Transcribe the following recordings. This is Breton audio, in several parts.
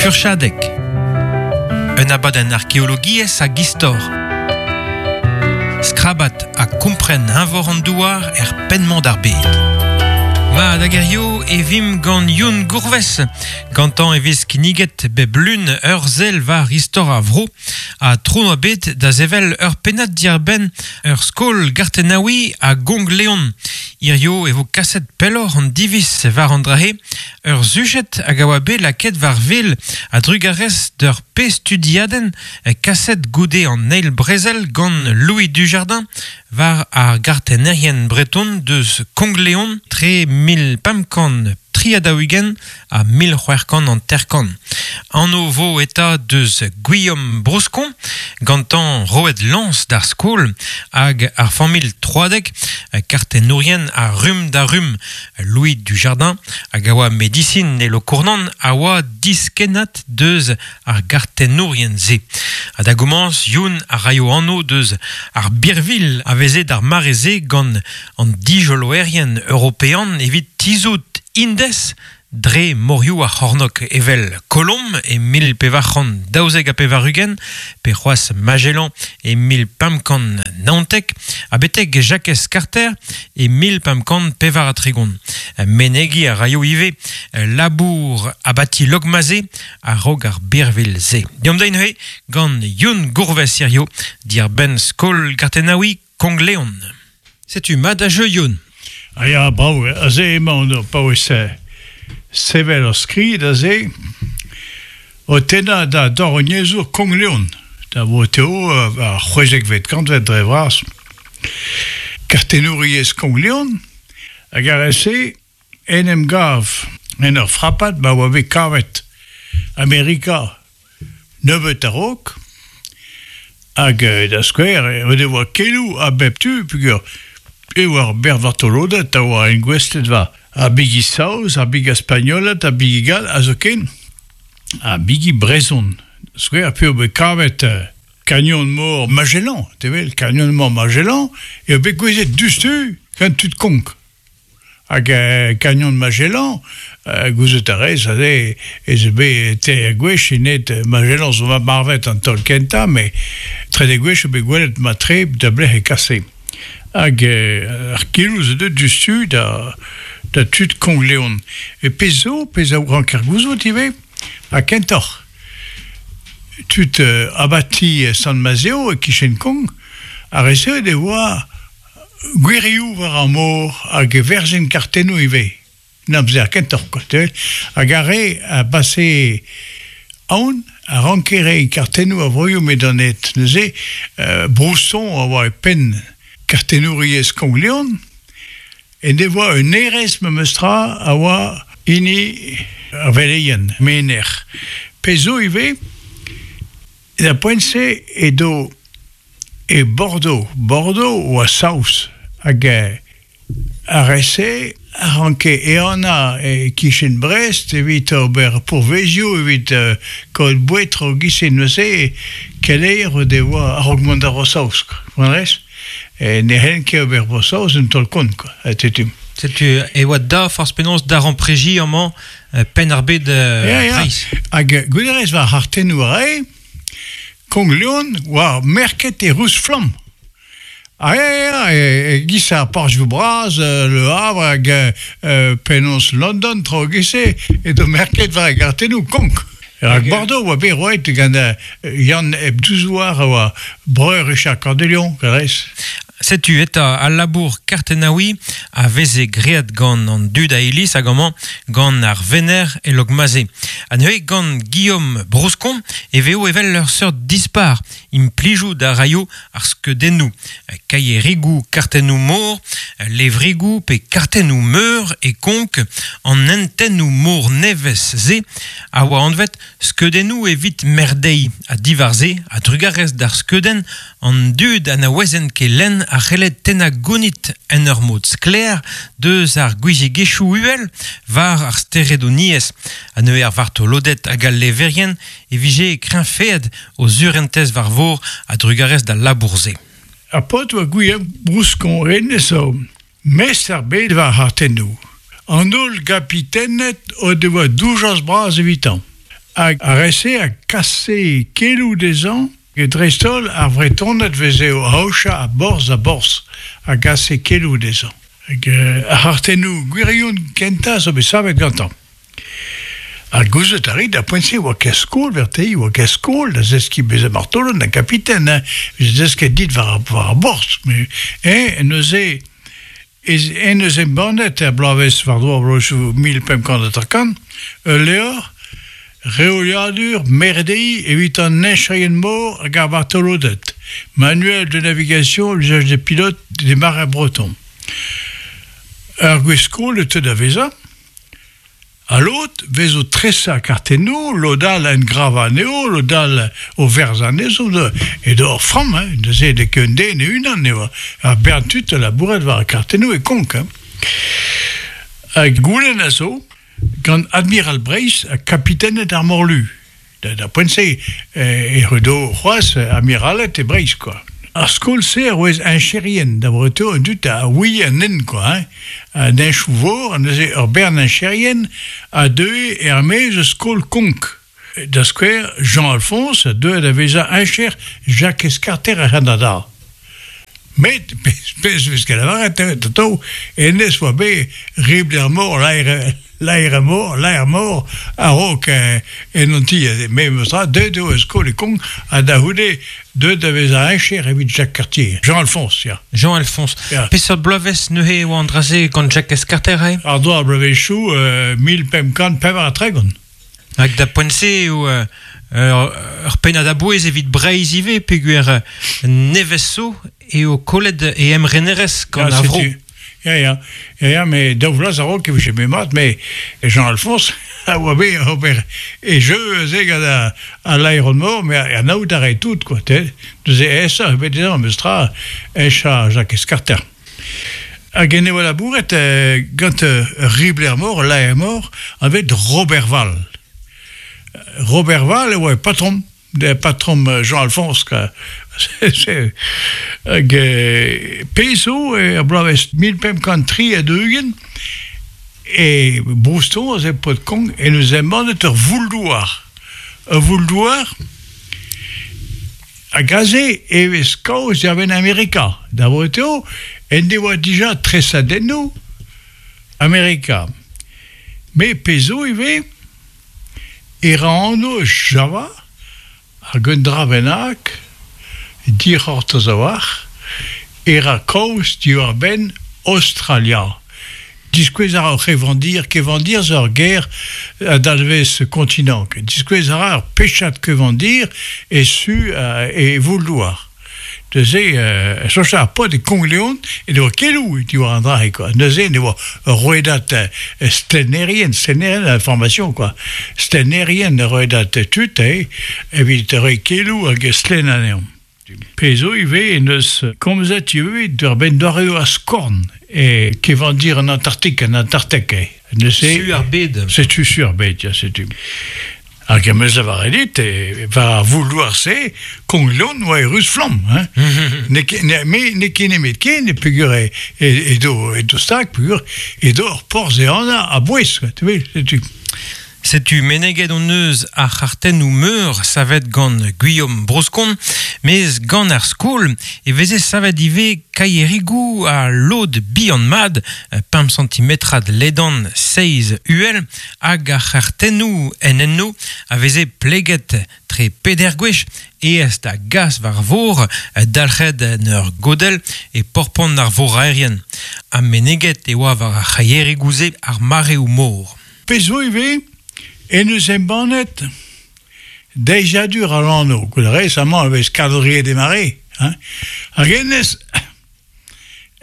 Furchadeg. Un abadenn arkeologiezh hag istor. Skrabat ha kompren eñvor an douar er penn-mañ d'ar bed. Ma da gerio e vimp gant Youn Gourves. Gantañ e vez kinniget bep lun ur sell war istor ar vro ha tro oa bet da sevel ur pennad diarbenn ur skol gartennaouiñ a Gonk-Leon. Hirio e vo kaset pelloc'h an diviz war an dra-se Ur sujed hag a oa bet lakaet war wel a-drugarez d'ur pezh studiadenn kaset goude an eil brezel gant Louis Dujardin war ar gartennerien breton deus Konk-Leon tre 1543 ha 1650. Anv vo eta deus Gwilhom Broskon, gantañ roet lañs d'ar skol hag ar familh Troadeg, kartennourien a rumm da rumm. Louis Dujardin, hag a oa medisin e Lokournan, a oa diskennad deus ar gartennourien-se. Ha da gomañs, Youn a raio anv deus ar birvilh a veze d'ar mare-se gant an dijoloerien european evit tizhout Indez dre morioù ar c'hornôg evel Colomb e 1492 pe c'hoazh Magellan e 1519 ha betek Jakez Carter e 1534. Menegiñ a raio ivez labour abati Lokmaze a-raok ar birvilh-se. Deomp da neuze gant Youn Gourves hirio diàr-benn skol gartennaouiñ Konk-Leon. Setu mat da jeu Youn. Ah ya, brav, aze emaon o paouez sevel ur skrid aze o tennañ da dorognezour Konk-Leon, da voteo ar c'hwezekvet kantved dre vras. Kartennouriezh Konk-Leon hag ar re-se en em gav en ur frapad ma oa bet kavet Amerika nebeut a-raok hag da skouer o devoa keloù a bep tu peogwir e oa ar berrvartoloded a oa engouestlet war ar bigi saoz, ar bigi spagnoled, ar bigi gall ha zoken ar bigi brezhon. Da skouer p'eo bet kavet kanyon-mor Magellan, te wel, kanyon-mor Magellan eo bet gouezet diouzhtu gant tud Konk. Hag Canyon Magellan, gouzout a rez aze ez eo bet teir gwech int Magellan zo marvet an taol kentañ, met trede gwech eo bet gwelet mat-tre da blec'h e kase. Hag ar keloù zo deuet diouzhtu da da tud Konk-Leon. E pezh zo, pezh a ranker gouzout ivez, ha kentoc'h tud abati Sant-Mazeo e-kichen Konk, ar re-se e oa Gwirioù war ar mor hag e verzhin kartennoù ivez. En amzer kentoc'h kwa, te Hag ar re a base aon a ranke reiñ kartennoù a vroioù m'edont aet. Neuze, Brousson a oa e penn kartennouriezh Konk-Leon, en devoa un hêrezh memestra a oa hini ar veleien, menec'h. Pezh zo ivez, d'ar poent-se edo E Bordeaux, Bordeaux oa saoz hag ar re-se a ranke ehanañ e-kichen Brest evit ober pourvezioù evit kaout boued tro giz-se neuze keleier o devoa a-raok mont da Vro-Saoz quoi. Ne c'hellent ket ober Bro-Saoz un taol-kont quoi, setu. Setu e oa da forzh penaos daremprejiñ amañ Penn-ar-Bed Breizh. Hag gouderezh war ar c'hartennoù a rae Konk-Leon oa merket e ruz-flamm. Ah ya, ya, e-giz ar porzhioù bras, Le Havre hag penaos London, traoù e-giz-se, edo merket war e gartennoù Konk. Rak Bordeaux oa bet roet gant Yann Ebdouzoar a oa breur Richard Cœur de Lion, rez. Setu eta al labour kartennaouiñ a veze graet gant an dud a iliz hag amañ gant ar venec'h e Lokmaze. Ha neuze gant Guillaume Broskon e vezo evel ur seurt dispar implijout a raio ar skeudennoù, kaierigoù kartennoù-mor, levrigoù pe kartennoù-meur e Konk an hentennoù-mor nevez-se a oa anvet skeudennoù evit merdeiñ ha diwar-se a-drugarez d'ar skeudenn An dud ha na ouezent ket lenn a c'helle tennañ gounid en ur mod sklaer deus ar gouiziegezhioù uhel war ar steredoniezh. Ha neuze ar vartoloded hag al leverien e vije kreñfaet o surentez war vor a-drugarez d'al labour-se. Ar paotr oa gwir brouskon hennezh zo mestr ar bed war ar c'hartennoù. An holl gapitened o devoa doujañs bras evitañ. Hag ar re-se a kase keloù dezhañ, dreist-holl ar Vretoned 'veze o aochañ a borzh da borzh, a gase keloù dezhañ. Hag ar c'hartennoù gwirion kentañ zo bet savet gantañ. Ha gouzout a rit, d'ar poent-se e oa ket skol verte, e oa ket skol da zeskiñ bezañ martolod na kapiten, hein, veze desket dit war ar borzh. Met eñ neuze Ez en deus embannet er bloavezh war-dro ar bloavezhioù 1550 ul levr reoliadur merdeiñ evit an heñcherien-mor hag ar vartoloded, Manuel de navigation l'usage des pilotes des marins bretons. Ur gwez-skol e teu da vezañ. Ha lod 'vez o tresañ kartennoù, lod all engravañ anezho, lod all o verzañ anezho. Edo ur framm, hein, neuze n'eo ket un den e-unan eo ar bern tud a labourat war ar kartennoù e Konk. Hein. Hag goulenn a zo gant Admiral Breizh ha kapitened ar morlu. Da poent-se e redo c'hoazh amiraled e Breizh kwa. Ar skol-se a roez heñcherien da vreutañ an dud a ouie an hent kwa hein. An heñchoù-vor, neuze ur bern heñcherien a deue er-maez eus skol Konk. Da skouer, Jean-Alphonse a deue da vezañ heñcher Jakez Karter er C'hanada. Met pezh 'vez ket lavaret atav, hennezh 'oa bet ribl er mor laer mor, laer mor a-raok en hon ti. Memes tra, deuet eo eus skol e Konk ha da c'houde deuet da vezañ heñcher evit Jacques Cartier. Jean-Alphonse, ya. Jean-Alphonse. Ya. Peseurt bloavezh neuze e oa an dra-se gant Jacques Cartier eh? Ar-dro ar bloavezhioù 1534. Hag da poent-se eo ur pennad a-bouez evit Breizh ivez peogwir nevez zo eo kollet e emrenerezh gant ar vro. Ya, ya, ya, ya, met daou vloaz a-raok e vije bet mat, met Jean-Alphonse a oa bet ober e jeu aze gant al laeron-mor, met anaout a rae tout, quoi, te. Neuze aesoc'h eo bet dezhañ, memes tra, aesañ Jakez Karter. Hag en devoa labouret gant ur ribler-mor, ul laer-mor, anvet Roberval. Roberval e oa e patrom, patrom Jean-Alphonse. Hag pezh zo, er bloavezh 1543, e Brouston, aze paotr-Konk, en deus embannet ur voul-douar. Ur voul-douar Hag aze e vez kaoz diwar-benn Amerika. Da vot eo en devoa dija tresadennoù Amerika. Met pezh zo ivez e ra anv eus Java hag un dra bennak dic'hortoz a-walc'h e ra kaoz diwar-benn Aostralia. Diskouez a ra ur c'hevandir. Kevandir zo ur ger a dalvez kontinant. Diskouez a ra ur pechad kevandir e su e voul-douar. Neuze, soñj ar paotr e Konk-Leon en devoa keloù diwar an dra-se kwa. Neuze en devoa ur rouedad stlennerien, stlennerien a formation kwa. Stlennerien ur rouedad tud evit reiñ keloù hag stlenn anezhañ. Pezh zo ivez en deus komzet ivez diwar-benn doareoù ar skorn e kevandir an Antarktik, an Antarktek eo. Neuze, Su ar bed. Setu su ar bed, ya, setu. Hag em eus lavaret dit, war ar vouloir-se, Konk-Leon oa e ruz-flamm. Hein? N'eo ket, ne, me n'eo ket nemet ken, peogwir e, e, edo, edo stag, peogwir edo ur porzh ehanañ a-bouez, tu vois, setu. Setu meneget hon eus ar c'hartennoù meur savet gant Guillaume Broskon, mes gant ar skol e veze savet ivez kaierigoù ha lod bihan-mat, pemp santimetrad ledan, seizh uhel, hag ar c'hartennoù en enno a veze pleget tre peder gwech aes da gas war vor, dalc'het en ur godell e porpant ar voraerien. Ha meneget e oa war ar c'haierigoù-se ar mareoù-mor. Pezh zo ivez en deus embannet deiziadur al anv. Gouzout a rez amañ e vez calendrier des marées. Hein? Hag hennezh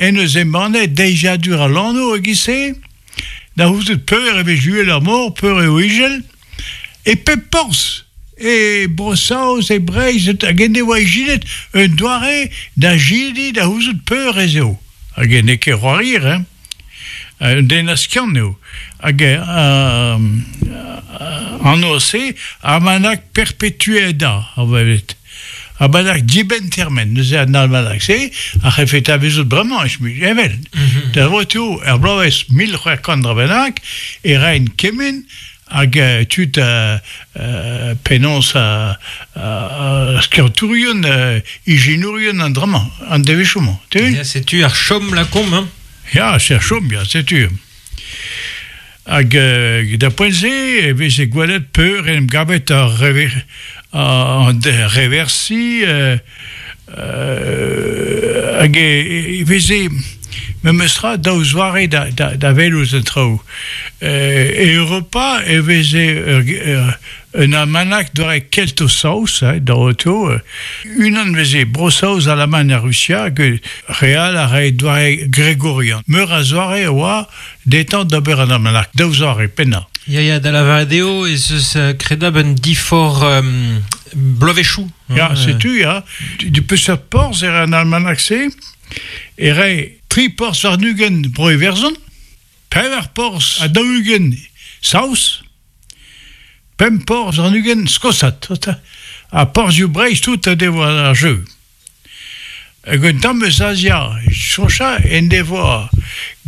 en deus embannet deiziadur al anv e-giz-se da c'houzout peur e vez uhel ar mor, peur eo izel, e pep porzh, e Bro-Saoz, e Breizh, hag en devoa ijinet un doare da jediñ da c'houzout peur ez eo. Hag n'eo ket c'hoarier, hein? Un den a skiant eo. Hag anv-se, almanach perpetueda, a welet. Almanach dibenn termen. Neuze an almanach-se a c'hellfe talvezout bremañ, evel. Da vot eo, er bloavezh 1600 dra bennak, e raent kement Hag tud penaos skiantourien, ijinourien an dra-mañ, an devezhioù-mañ. Tu Ya, setu ar chom lakomp, hein? Ya, c'est ar chom, ya, setu. Hag da poent-se e veze gwelet peur en em gavet ar rever, an reversi hag e veze memestra daou zoare da, da, da welout an traoù. E Europa e veze ur, un almanach doare kelto-saoz, da oto. Unan veze Bro-Saoz, Alamagn ha Rusia, hag re all a rae doare gregorian. Meur a zoare a oa dezhañ d'ober an almanach, daou zoare pennañ. Ya, ya, da lavaret eo ez eus kredabl un diforc'h bloavezhioù. Ya, setu, ya. Du peseurt porzh e ra an almanach-se e rae tri porzh warn-ugent Bro-Iwerzhon, pevar porzh ha 40 Saoz, pemp porzh warn-ugent Skosat. Ha porzhioù Breizh tout a devoa ar jeu. Hag un tamm eus Azia, soñja en devoa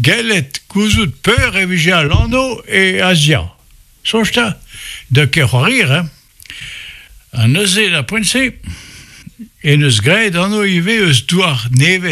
gellet gouzout peur e vije al lanv e Azia. Soñj 'ta, da ket c'hoarier, hein. Ha neuze, d'ar poent-se, en deus graet anv ivez eus douar nevez.